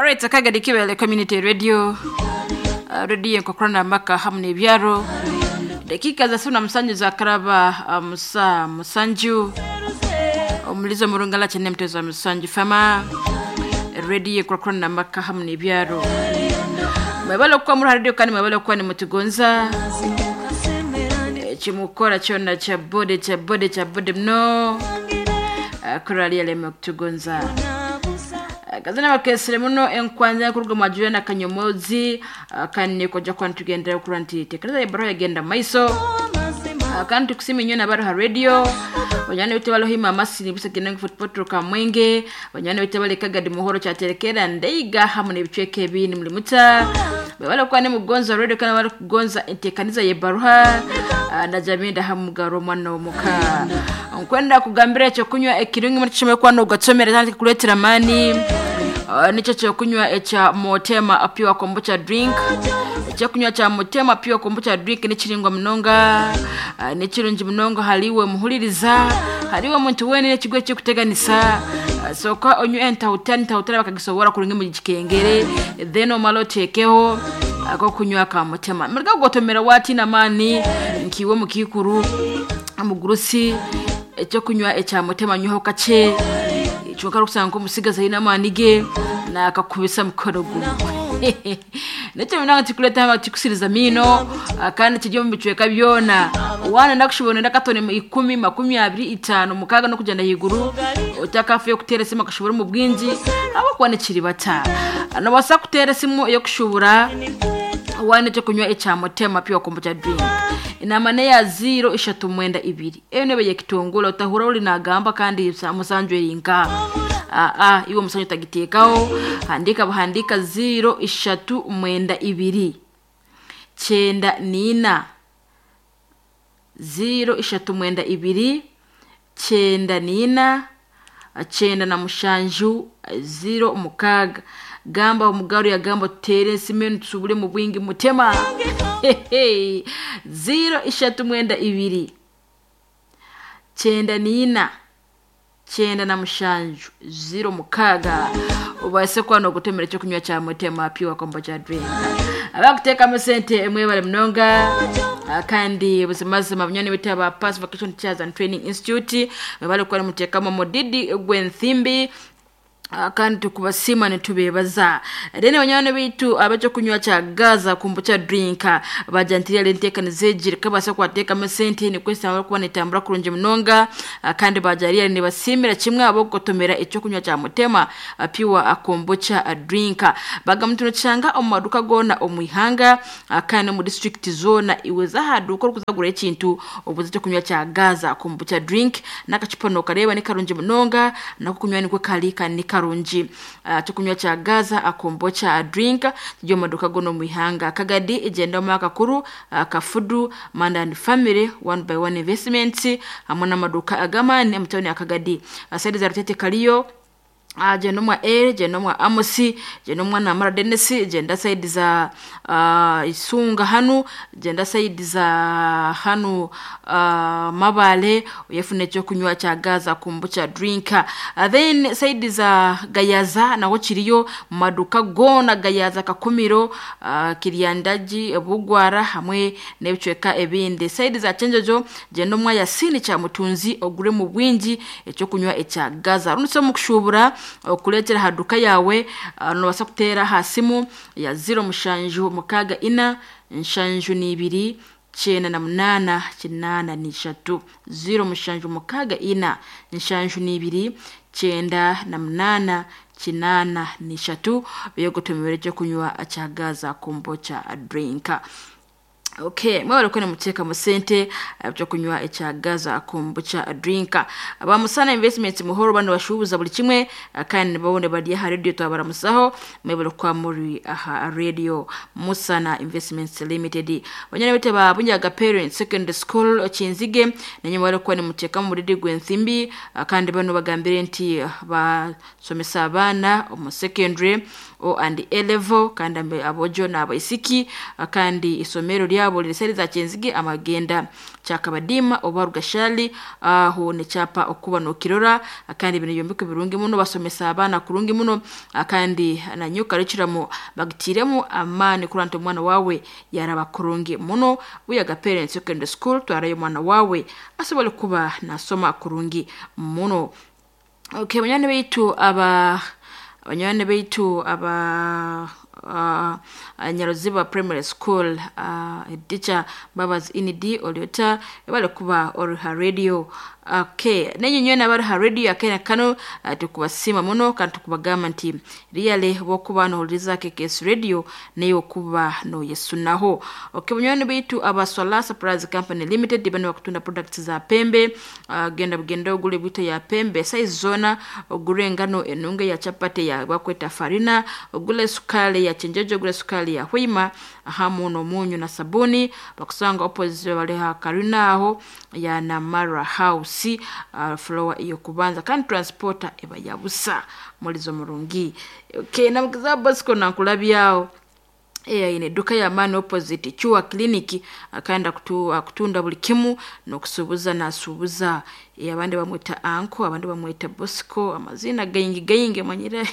Alright, Kagadi Kibele Community Radio. Radio enkokorana amaka hamu n'ebyaro. Dakika za suna musanju za karaba musa musanju. Omulizo murungala chene mtezo wa musanju fama. Radio enkokorana amaka hamu n'ebyaro. Mwebale okuba muri radio kandi mwebale okuba nimutugonza. Ekimukora kyona kya bode kya bode kya bode muno. Korali yaleme kutugonza. Kazana bakesere muno enkwanza kuruga mwajura na kanyomozi kandi koja kwa nitugendera kura nti tekereza ebaro yagenda maiso. Kandi tukusima inywe nabari ha radio banywana bitu balohima amasini busa genda football kamwenge banywana bitu bali Kagadi muhoro kyaterekera ndeiga hamwe n'ebicweka ebindi muri muta bwebale kuba nimugonza radio kandi bari kugonza entekaniza yebaruha na jamii hamugaro omwana w'omuka nkwenda kugambira ekyo kunywa ekirungi muri kishome kuba nogatsomera kandi kikuleetera amaani. Nikyo kyokunywa ekya Motema Pure Kombucha Drink. Ekyokunywa kya Motema Pure Kombucha Drink nikiringwa munonga, nikirungi munonga hariwe muhuririza hariwe omuntu weena ekigwe ekikuteganisa. Sooka onywe entahutani entahutani bakagisobora kurungi mu kikengere, then omale oteekeho akokunywa ka Motema muriga kugotomera watiina amaani nkiiwe omukiikuru omugurusi. Ekyokunywa ekya Motema nywaho kakye kyonka orikusanga nk'omutsigazi aine amaani ge nakakubisa mukono gumwe. Nikyo munonga tikureta tikusiriza amaino, kandi kiri omu bicweka byona. Waana nakushubona noyenda akatone 10, 20, 50, 6 n'okugyenda ahaiguru otakafayo kuteera esimu akashubura omu bwingi ahabw'okuba nikiri bata. Noobaasa kuteera esimu ey'okushubura waana ekyokunywa ekya Motema Pure Kombucha Drink. Enamba neya 0392. Eyo nebe yekitongole otahura ori nagamba kandi musanju eri nka. Iwe omusanju otagiteekaho handika buhandika 0392 94 0392 94 97 06. Gamba omugaru yagamba tuteere esimu enu tusubure mu bwingi Mutema. 0392 94 97 06 obaase kuba nogutomera ekyokunywa kya Motema Pure Kombucha Drink. Abakuteekamu sente mwebale munonga, kandi buzimazima bunywani bitu aba Pass Vocation Teachers and Training Institute mwebale kuba nimuteekamu omudidi gw'enthimbi, kandi tukubasiima nitubeebaza. Then banywani bitu ab'ekyokunywa kya Gaza Kombucha Drink bajantirire enteekaniza egi rikabaasa kubateekamu sente nikwo esaaha barikuba netambura kurungi munonga, kandi bajarire nibasiimira kimwe ahabw'okugotomera ekyokunywa kya Motema Pure Kombucha Drink. Bagamba nti nokishanga omu maduuka goona omu ihanga, kandi n'omu disitulikiti zoona. Iwe za aha duuka orikuza kugura ekintu obuuze ekyokunywa kya Gaza Kombucha Drink n'akacupa nokareeba ni karungi munonga n'akokunywa nikwo kari kandi ni karungi. Ekyokunywa kya Gaza Kombucha Drink kiri omu maduuka goona omu ihanga. Kagadi egyendamu akakuru Kafudu Manda and Family One by One Investments hamwe n'amaduuka ag'amaani omu tawuni ya Kagadi. Saidi za Rutete kariyo, gyenda omwa Eri, gyenda omwa Amosi, gyenda omwa Namara Dennis, gyenda saidi za Isunga hanu, gyenda saidi za hanu Mabale oyefune ekyokunywa kya Gaza Kombucha Drink. Then saidi za Gayaza naho kiriyo mu maduuka goona Gayaza, Kakumiro, Kiryandagi, Bugwara hamwe n'ebicweka ebindi. Saidi za Kyenjojo gyenda omwa Yasini kya Mutunzi ogure mu bwingi ekyokunywa ekya Gaza. Rundi omu kushubura okureetera aha duuka yaawe, noobaasa kuteera aha simu ya 0764 72 98 83 0764 72 98 83 beegotomere ekyokunywa kya Gaza Kombucha Drink. Okay, mwebale kuba nimuteekamu sente ekyokunywa ekya Gaza Kombucha Drink. Aba Musana Investments muhoro bano bashubuza buli kimwe, kandi nibabone bari aha radio twabaramusaho mwebale kuba muri aha radio Musana Investments Limited. Banyana bitu ba Bunyaga Parents Secondary School Kinzige nenye mwebale kuba nimuteekamu muridi gw'enthimbi, kandi bano bagambire nti basomesa abaana omu secondary O and A level kandi abojo n'abaisiki, kandi isomero ryabo ryabo liri seri za Kyenzige amagenda Kyakabadima oba Rugashali aho nekyapa okuba nokirora. Kandi bino byombeko birungi muno, basomesa abaana kurungi muno, kandi nanyo curriculum bagitiremu amaani kurora nti omwana wawe yaraba kurungi muno. Buyaga Parents Secondary School, twarayo omwana wawe asobole kuba nasoma kurungi muno. Okay, banywani baitu aba banywani baitu aba Nyaruziba Primary School, teacher Mbabazi Inidi Oliota bali kuba ori ha radio. Okay, nenye nywena abari ha radio akena kano, tukubasiima muno kandi tukubagamba nti really bokuba nohuliriza KKS Radio nayo kuba noyesunaho. Okay, banywani baitu aba Solar Supplies Company Limited bano bakutunda products za pembe. Genda bugenda ogule bwito ya pembe size zona, ogule engano enunge ya chapati ya bakweta farina, ogule sukali ya chenjejo, ogule sukali ya hwima hamu n'omunyu na sabuni. Bakusanga opposite bali ha karina aho ya Namara House, floor iyo kubanza, kandi transporter eba yabusa mulizo murungi. Okay, namukiza Bosco nankulabyawo ine eduka ya maani opposite Chua Clinic, akanda kutunda buli kimu n'okusuubuza nasuubuza. Abandi bamweta Anko, abandi bamweta Bosco, amazina gaingi gaingi manyire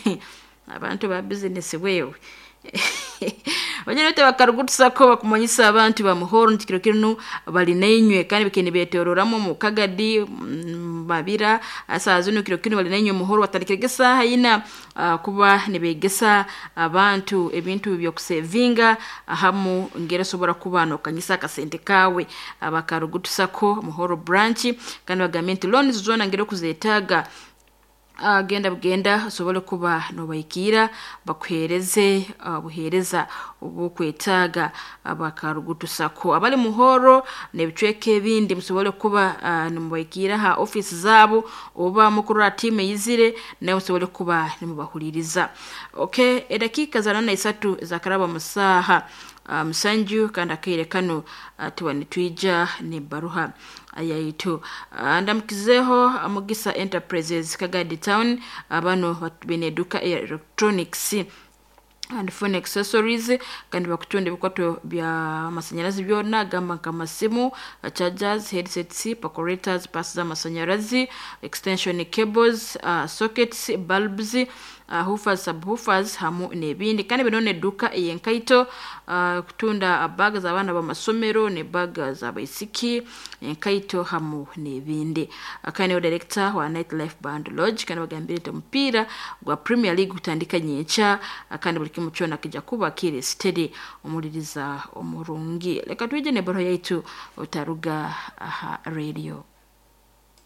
abantu ba business wewe. Banyine bakarugutusako bakumanyisa abantu bamuhoro nti kiro kinu bali nainywe, kandi bikini betororamu mu Kagadi, Mabira asaa zino kiro kinu bali nainywe muhoro batandikire esaha ina, kuba nibegesa abantu ebintu byokusevinga ahamu ngere sobora kuba nokanyisa akasente kawe. Abakarugutusako Muhoro branch kandi bagambye nti loans zona ngere kuzetaaga, genda bugenda osobole kuba nobaikira bakuhereze buhereza obukwetaaga. Abakarugutusako abali Muhoro n'ebicweka ebindi musobole kuba nimubaikira ha office zabo oba mukurora timu eyizire naye musobole kuba nimubahuliriza. Okay, edakiika za 83 zakaraba musaha 7, kandi akaire kano tuba nitwija n'ebbaruha yaitu. Ndamukizeho Mugisa Enterprises Kagadi Town, bano bine eduka ya electronics and phone accessories, kandi bakutunda ebikwato bya masanyalazi byona, gamba nk'amasimu, chargers, headsets, percolators, pass z'amasanyalazi, extension cables, sockets, bulbs, woofers, subwoofers hamu n'ebindi. Kandi bino n'edduka ey'enkaito, kutunda bag z'abaana b'amasomero ne bag z'abaisiki, enkaito hamu n'ebindi. Kandi niwe director wa Night Life Band Lodge, kandi bagambire nti omupiira gwa Premier League gutandika nyenkya, kandi buli kimu kyona kijja kuba kiri steady omuliriza omurungi. Leka twije n'ebbaruha yaitu otaruga aha radio.